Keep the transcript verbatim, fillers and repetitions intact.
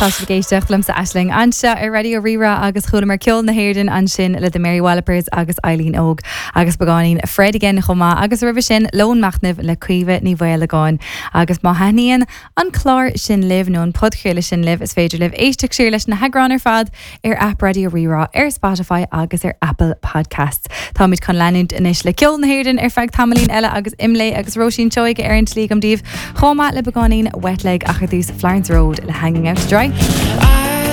Tá sibh ag éisteacht liomsa Aisling anseo ar Raidió Rí-Rá agus chualamar ceol na hÉireann ansin le The Mary Wallopers agus Eileen Óg agus beagáinín Fred again chomh maith agus roimhe sin Lón Machnaimh le Caoimhe Ní Mhaolagáin agus má thaitníonn an clár sin libh nó an podchraoladh sin libh is féidir libh éisteacht siar leis na heagráin ar fad ar app Raidió Rí-Rá ar Spotify agus ar Apple Podcasts. Táimid chun leanúint anois le ceol na hÉireann ar feadh tamaillín eile agus Imlé agus Róisín Seoige ar an tslí agam daoibh chomh maith le beagáinín Wet Leg ach ar dtús Florence Road le Hanging Out to Dry. I